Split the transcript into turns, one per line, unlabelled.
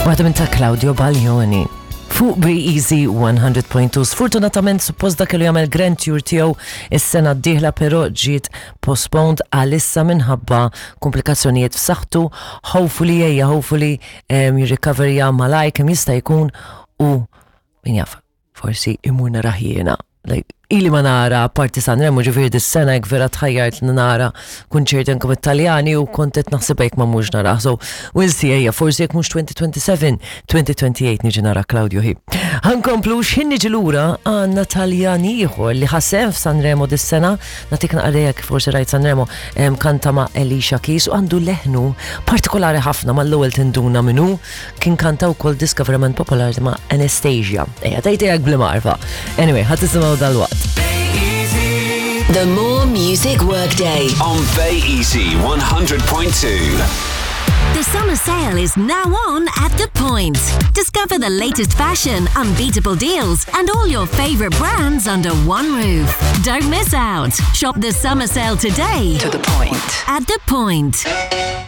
Waħda minn ta' Claudio Baglioni. Fuq Be Easy 100.2. Sfortunatament suppost dak kellu jagħmel Grand Tour tiegħu is-sena d-dieħla però ġiet postponed għalissa minħabba komplikazzjonijiet f'saħħtu. Hopefully ejja hopefully jirrikaverja malaj kemm jista' jkun u min jaf forsi imur narah jiena. Like, ili ma nara parti Sanremo ġifieri dis-sena jekk vera tħajjart li nara kunċert anke mit-Taljani u kont qed naħseb jekk ma mhux narah. So, we'll see ejja, forsi jekk mhux 2027, 2028 niġi nara Claudio Hi. Ħankomplu x'ħin niġi lura għandna Taljan ieħor li ħasem f'Sanremo dis-sena, nagħtik naqra kif forsi rajt Sanremo, kanta ma' Elisha Keys u għandu leħnu partikolari ħafna mal-ewwel tinduna minnu kien kanta wkoll diska verament popolari ma' Anastasia. Ejja, tajtejak bl-marfa. Anyway, ħadd tisimgħu dal-waqt.
The More Music Workday.
On Bay Easy 100.2.
The summer sale is now on at The Point. Discover the latest fashion, unbeatable deals, and all your favorite brands under one roof. Don't miss out. Shop the summer sale today
To the point.
at The Point.